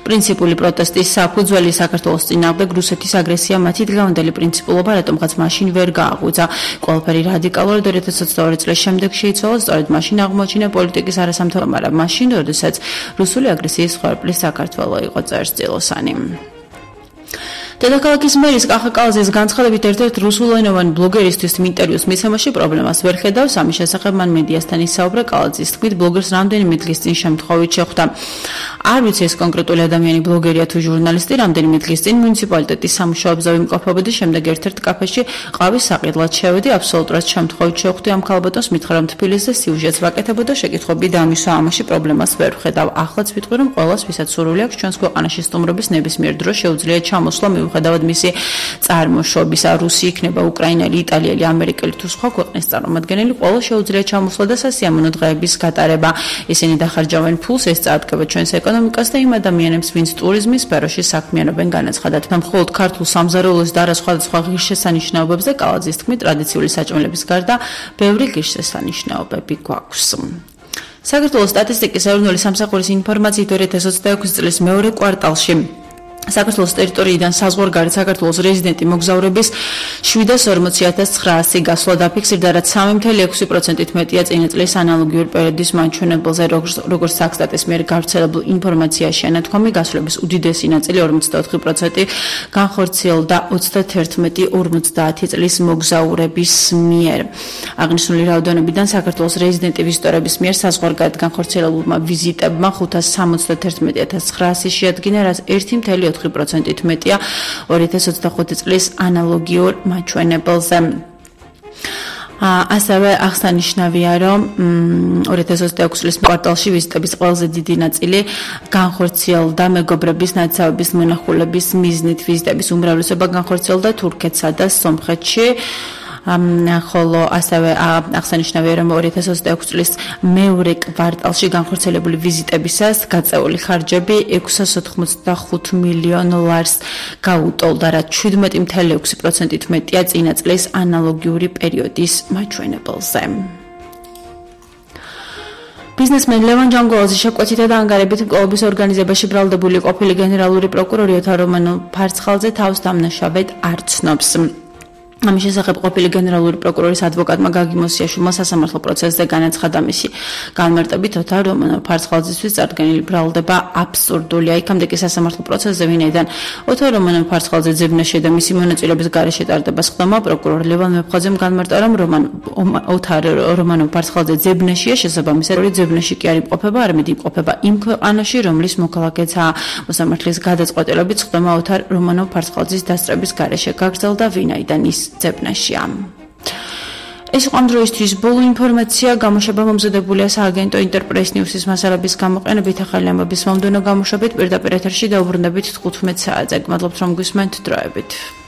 პრინციპული პროტესტის საფუძველი საქართველოს წინააღმდეგ რუსეთის აგრესია მათი დღევანდელი პრინციპულობა რატომღაც მაშინ ვერ გააღვიძა. ყველაფერი რადიკალურად 2022 წლის შემდეგ შეიცვალა, სწორედ მაშინ აღმოჩინა პოლიტიკის არასამთავრობო, მაგრამ მაშინ, როდესაც რუსული აგრესიის ხარბლის საქართველო იყო წერს-წილოსანი. დედაქალაქის მერის კახა კალაზის განცხადებით ერთ-ერთ რუსულენოვანი ბლოგერისთვის ინტერვიუს მიცემაში პრობლემას ვერ ხედავს. ამის შესახებ მან მედიასთან ისაუბრა. კალაზის თქმით, ბლოგერს რამდენიმე დღის წინ შემთხვევით შეხვდა. არ ვიცი ეს კონკრეტული ადამიანი ბლოგერია თუ ჟურნალისტი, რამდენიმე დღის წინ მუნიციპალიტეტის სამუშაოებზე ვიმყოფებოდი, შემდეგ ერთ-ერთ კაფეში ყავის საყიდლად შევედი, აბსოლუტურად შემთხვევით შევხვდი ამ ქალბატონს, მითხრა რომ თბილისზე სიუჟეტს ვაკეთებოდა, შეკითხვები დაამისვა, ამაში პრობლემას ვერ ვხედავ. ახლაც ვიტყვი რომ ყველას ვისაც სურვილი აქვს ჩვენს ქვეყანაში სტუმრობის ნებისმიერ დროს შეუძლია ჩამოსვლა მიუხედავად მისი წარმოშობისა, რუსი იქნება, უკრაინელი, იტალიელი, ამერიკელი თუ სხვა ქვეყნის წარმომადგენელი, ყველა შეუძლია ჩამოსვლა და სასიამოვნო დღეების გატარება. ისინი დახარჯავენ ფულს, ეს წაადგება ჩვენს ეკონომიკას და იმ ადამიანებს, ვინც ტურიზმის სფეროში საქმიანობენ, განაცხადა. მხოლოდ ქართულ სამზარეულოს და არა სხვადასხვა ღირსშესანიშნაობებზე კალაძის თქმით, ტრადიციული საჭმელების გარდა ბევრი ღირსშესანიშნაობები გვაქვს. საქართველოს სტატისტიკის ეროვნული სამსახურის ინფორმაციით 2026 წლის მეორე კვარტალში საქართველოს ტერიტორიიდან საზღვარგარეთ საქართველოს რეზიდენტი მოგზაურების 740,900 გასვლა დაფიქსირდა, რაც 3.6%-ით მეტია წინა წლის ანალოგიური პერიოდის მაჩვენებელზე, როგორც საქსტატის მიერ გავრცელებულ ინფორმაციაში შენათქვამი, გასვლების უდიდესი ნაწილი 54% განხორციელდა 31-50 წლის მოგზაურების მიერ. აღნიშნული რაოდენობიდან საქართველოს რეზიდენტი ვიზიტორების მიერ საზღვარგარეთ განხორციელებულმა ვიზიტებმა 571,900 შეადგინა, რაც 1.4%-ით მეტია 2025 წლის ანალოგიურ მაჩვენებელზე. ასევე აღსანიშნავია, რომ 2026 წლის კვარტალში ვიზიტების ყველაზე დიდი ნაწილი განხორციელდა მეგობრების ნაცავების მონახულების მიზნით. ვიზიტების უმრავლესობა განხორციელდა თურქეთსა და სომხეთში. ხოლო ასევე აღსანიშნავია, რომ 2026 წლის მეორე კვარტალში განხორციელებული ვიზიტებისას გაწეული ხარჯები 685 მილიონ ლარს გაუტოლდა, რაც 17.6%-ით მეტია წინა წლის ანალოგიური პერიოდის მაჩვენებელზე. ბიზნესმენ ლევან ჯანგოვალის შეკვეცითა და ანგარებით მკვლელობის ორგანიზებაში ბრალდებული ყოფილი გენერალური პროკურორი ოთარ რომანოვ ფარცხალძე თავს დამნაშავედ არ ცნობს. ამის შესახებ ყოფილი გენერალური პროკურორის ადვოკატმა გაგი მოსიაშვილმა სასამართლო პროცესზე განაცხადა, მისი განმარტებით ოთარ რომანოვ ფარცხალძისთვის წარდგენილი ბრალდება აბსურდულია. იქამდე კი სასამართლო პროცესზე, ვინაიდან ოთარ რომანოვ ფარცხალძე ძებნაში და მისი მონაწილეობის გარეშე ტარდება სხდომა, პროკურორ ლევან მეფხაძემ განმარტა, რომ ოთარ რომანოვ ფარცხალძე ძებნაშია, შესაბამისად ძებნაში კი არ იმყოფება, არამედ იმყოფება იმ ქვეყანაში, რომლის მოქალაქეა. მოსამართლის გადაწყვეტილებით სხდომა ოთარ რომანოვ ფარცხალძის დასწრების გარეშე გაგრძელდა, ვინაიდან ის ძებნაშია. ეს იყო ამ დროისთვის ბოლო ინფორმაცია. გამოშვება მომზადებულია სააგენტო ინტერპრეს ნიუსის მასალების გამოყენებით. ახალი ამბების მომდევნო გამოშვებით პირდაპირ ეთერში დაუბრუნდებით 15 საათზე. გმადლობთ რომ გვისმენთ დროებით.